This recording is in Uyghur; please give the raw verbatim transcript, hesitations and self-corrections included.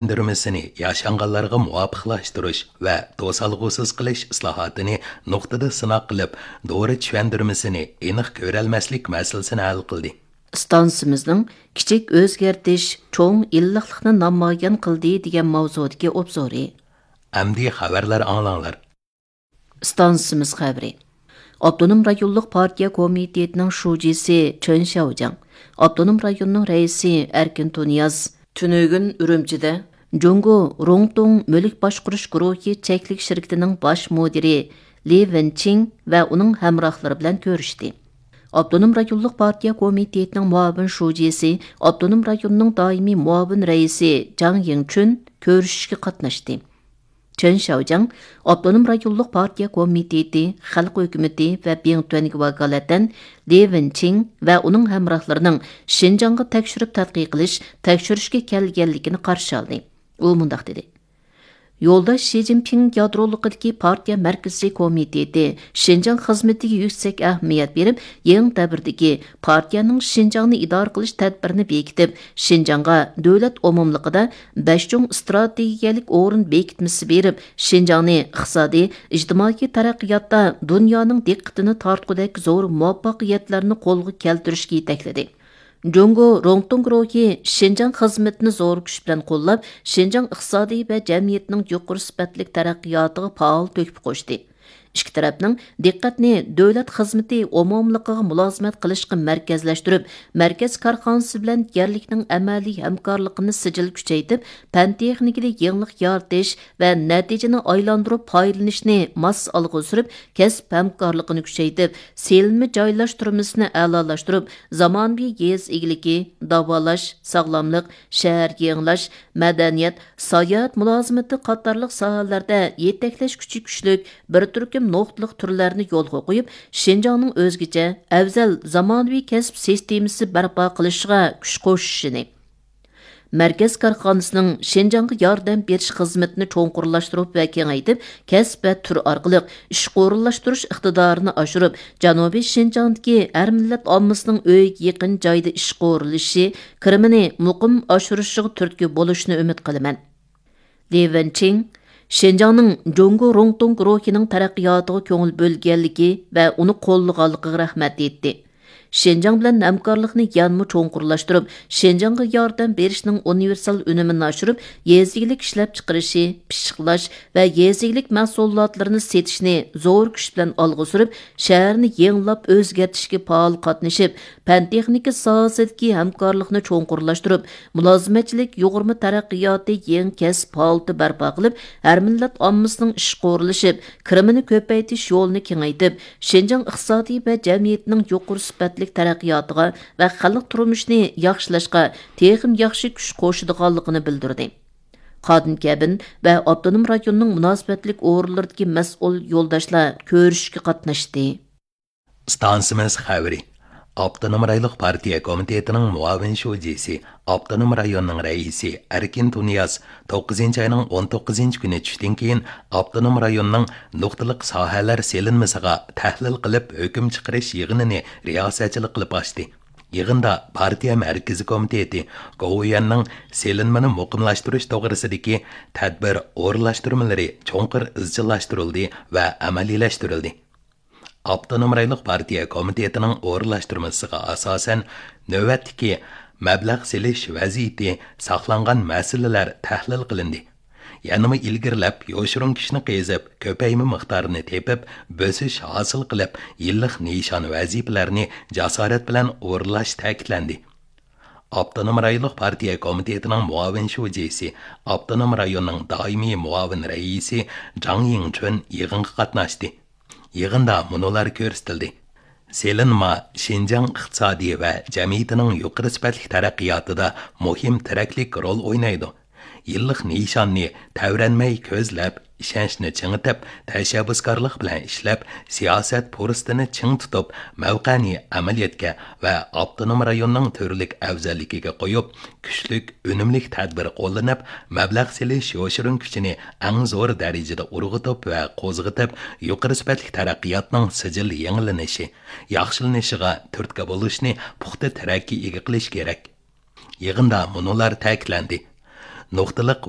چۈشەندۈرمىسىنى ياشانغانلارغا مۇۋاپىقلاشتۇرۇش ۋە توسالغۇسىز قىلىش ئىسلاھاتىنى نۇقتىدا سىناق قىلىپ، دورا چۈشەندۈرمىسىنى ئېنىق كۆرەلمەسلىك مەسىلىسىنى ھەل قىلدى. ئىستانسىمىزنىڭ كىچىك ئۆزگەرتىش چوڭ ئىللىقلىقنى نامايان قىلدى دېگەن ماۋزۇدىكى ئوبزورى. ئەمدى خەۋەرلەر ئاڭلاڭلار. ئىستانسىمىز خەۋىرى. ئاپتونوم رايونلۇق پارتىيە كومىتېتىنىڭ شۇجىسى چېن شياۋجياڭ، ئاپتونوم رايوننىڭ رەئىسى ئەركىن تۇنىياز تۈنۈگۈن ئۈرۈمچىدە جۇڭگو روڭتۇڭ مۈلۈك باشقۇرۇش گۇرۇھى چەكلىك شىركىتىنىڭ باش مۇدىرى لى ۋېنچىڭ ۋە ئۇنىڭ ھەمراھلىرى بىلەن كۆرۈشتى. ئاپتونوم رايونلۇق پارتىيە كومىتېتىنىڭ مۇئاۋىن شۇجىسى، ئاپتونوم رايوننىڭ دائىمىي مۇئاۋىن رەئىسى جاڭ يىڭچۈن كۆرۈشۈشكە قاتناشتى. چېن شياۋجياڭ ئاپتونوم رايونلۇق پارتىيە كومىتېتى، خەلق ھۆكۈمىتى ۋە بىڭتۈەنگە ۋاكالىتەن لى ۋېنچىڭ ۋە ئۇنىڭ ھەمراھلىرىنىڭ شىنجاڭغا تەكشۈرۈپ تەتقىق قىلىش، تەكشۈرۈشكە كەلگەنلىكىنى قارشى ئالدى. ئۇ مۇنداق دېدى: يولداش شى جىنپىڭ يادرولۇقىدىكى پارتىيە مەركىزىي كومىتېتى شىنجاڭ خىزمىتىگە يۈكسەك ئەھمىيەت بېرىپ، يېڭى دەۋردىكى پارتىيەنىڭ شىنجاڭنى ئىدارە قىلىش تەدبىرىنى بېكىتىپ، شىنجاڭغا دۆلەت ئومۇملۇقىدا بەش چوڭ ئىستراتېگىيەلىك ئورۇن بېكىتمىسى بېرىپ، شىنجاڭنى ئىقتىسادىي، ئىجتىمائىي تەرەققىياتتا دۇنيانىڭ دىققىتىنى تارتقۇدەك زور مۇۋەپپەقىيەتلەرنى قولغا كەلتۈرۈشكە يېتەكلىدى. جۇڭگو روڭتۇڭ گۇرۇھى شىنجاڭ خىزمىتىنى زور كۈچ بىلەن قوللاپ، شىنجاڭ ئىقتىسادىي ۋە جەمئىيىتىنىڭ يۇقىرى سۈپەتلىك تەرەققىياتىغا پائال تۆھپە قوشتى. ئىككى تەرەپنىڭ دىققەتنى دۆلەت خىزمىتى ئومۇملۇقىغا مۇلازىمەت قىلىشقا مەركەزلەشتۈرۈپ، مەركەز كارخانىسى بىلەن يەرلىكنىڭ ئەمەلىي ھەمكارلىقىنى سىجىل كۈچەيتىپ، پەن تېخنىكىدا يېڭىلىق يارىتىش ۋە نەتىجىنى ئايلاندۇرۇپ پايدىلىنىشنى ماس ئالغا سۈرۈپ، كەسىپ ھەمكارلىقىنى كۈچەيتىپ، سېلىنما جايلاشتۇرمىسىنى ئەلالاشتۇرۇپ، زامانىۋى يېزا ئىگىلىكى، داۋالاش، ساغلاملىق، شەھەر يېڭىلاش، مەدەنىيەت، ساياھەت مۇلازىمىتى قاتارلىق ساھەلەردە يېتەكلەش كۈچى كۈچلۈك بىر تۈركۈم نۇقتىلىق تۈرلەرنى يولغا قويۇپ، شىنجاڭنىڭ ئۆزگىچە، ئەۋزەل زامانىۋى كەسىپ سىستېمىسى بەرپا قىلىشىغا كۈچ قوشۇشىنى، مەركەز كارخانىسىنىڭ شىنجاڭغا ياردەم بېرىش خىزمىتىنى چوڭقۇرلاشتۇرۇپ ۋە كېڭەيتىپ، كەسىپ ۋە تۈر ئارقىلىق ئىشقا ئورۇنلاشتۇرۇش ئىقتىدارىنى ئاشۇرۇپ، جەنۇبىي شىنجاڭدىكى ھەر مىللەت ئاممىسىنىڭ ئۆيىگە يېقىن جايدا ئىشقا ئورۇنلىشىشى، كىرىمىنى مۇقىم ئاشۇرۇشىغا تۈرتكە بولۇشىنى ئۈمىد قىلىمەن. لى ۋېنچىڭ شىنجاڭنىڭ جۇڭگو روڭتۇڭ گۇرۇھىنىڭ تەرەققىياتىغا كۆڭۈل بۆلگەنلىكى ۋە ئۇنى قوللىغانلىقىغا رەھمەت ئېيتتى. شىنجاڭ بىلەن ھەمكارلىقنى يەنىمۇ چوڭقۇرلاشتۇرۇپ، شىنجاڭغا ياردەم بېرىشنىڭ ئۇنىۋېرسال ئۈنۈمىنى ئاشۇرۇپ، يېزا ئىگىلىك ئىشلەپچىقىرىشى، پىششىقلاش ۋە يېزا ئىگىلىك مەھسۇلاتلىرىنى سېتىشنى زور كۈچ بىلەن ئالغا سۈرۈپ، شەھەرنى يېڭىلاپ ئۆزگەرتىشكە پائال قاتنىشىپ، پەن تېخنىكا ساھەسىدىكى ھەمكارلىقنى چوڭقۇرلاشتۇرۇپ، مۇلازىمەتچىلىك يۇغۇرما تەرەققىياتى يېڭى كەسىپ ھالىتى بەرپا قىلىپ، ھەر مىللەت ئاممىسىنىڭ ئىشقا ئورۇنلىشىپ، كىرىمىنى كۆپەيتىش يولىنى كېڭەيتىپ، شىنجاڭ ئىقتىسادىي ۋە جەمئىيىتىنىڭ يۇقىرى سۈپەتلىك تەرەققىياتىغا ۋە خەلق تۇرمۇشىنى ياخشىلاشقا تېخىمۇ ياخشى كۈچ قوشىدىغانلىقىنى بىلدۈردى. قادىن كەبىن ۋە ئاپتونوم رايوننىڭ مۇناسىۋەتلىك ئورۇنلىرىدىكى مەسئۇل يولداشلار كۆرۈشۈشكە قاتناشتى. ئىستانسىمىز خەۋىرى. ئاپتونوم رايونلۇق پارتىيە كومىتېتىنىڭ مۇئاۋىن شۇجىسى، ئاپتونوم رايوننىڭ رەئىسى ئەركىن تۇنىياز توققۇزىنچى ئاينىڭ ئون توققۇزىنچى كۈنى چۈشتىن كېيىن ئاپتونوم رايوننىڭ نۇقتىلىق ساھەلەر سېلىنمىسىغا تەھلىل قىلىپ ھۆكۈم چىقىرىش يىغىنىنى رىياسەتچىلىك قىلىپ ئاچتى. يىغىندا پارتىيە مەركىزىي كومىتېتى گوۋۇيۈەننىڭ سېلىنمىنى مۇقىملاشتۇرۇش توغرىسىدىكى تەدبىر ئورۇنلاشتۇرمىلىرى چوڭقۇر ئىزچىللاشتۇرۇلدى ۋە ئەمەلىيلەشتۈرۈلدى. ئاپتونوم رايونلۇق پارتىيە كومىتېتىنىڭ ئورۇنلاشتۇرمىسىغا ئاساسەن، نۆۋەتتىكى مەبلەغ سېلىش ۋەزىيىتى، ساقلانغان مەسىلىلەر تەھلىل قىلىندى. يەنىمۇ ئىلگىرىلەپ، يوشۇرۇن كۈچنى قېزىپ، كۆپەيمە مىقدارىنى تېپىپ، بۆسۈش ھاسىل قىلىپ، يىللىق نىشان ۋەزىپىلەرنى جاسارەت بىلەن ئورۇنلاش تەكىتلەندى. ئاپتونوم رايونلۇق پارتىيە كومىتېتىنىڭ مۇئاۋىن شۇجىسى، ئاپتونوم رايوننىڭ دائىمىي مۇئاۋىن رەئىسى جاڭ يىڭچۈن يىغىنغا قاتناشتى. يىغىندا مۇنۇلار كۆرسىتىلدى: سېلىنما شىنجاڭ ئىقتىسادى ۋە جەمئىيىتىنىڭ يۇقىرى سۈپەتلىك تەرەققىياتىدا مۇھىم تىرەكلىك رول ئوينايدۇ. يىللىق نىشاننى تەۋرەنمەي كۆزلەپ، ئىشەنچنى چىڭىتىپ، تەشەببۇسكارلىق بىلەن ئىشلەپ، سىياسەت پۇرسىتىنى چىڭ تۇتۇپ، مەۋقەنى ئەمەلىيەتكە ۋە ئاپتونوم رايوننىڭ تۈرلۈك ئەۋزەللىكىگە قويۇپ، كۈچلۈك، ئۈنۈملۈك تەدبىر قوللىنىپ، مەبلەغ سېلىش يوشۇرۇن كۈچىنى ئەڭ زور دەرىجىدە ئۇرغۇتۇپ ۋە قوزغىتىپ، يۇقىرى سۈپەتلىك تەرەققىياتنىڭ سىجىل يېڭىلىنىشى، ياخشىلىنىشىغا تۈرتكە بولۇشنى پۇختا تىرەككە ئىگە قىلىش كېرەك. يىغىندا مۇنۇلار تەكىتلەندى: نۇقتىلىق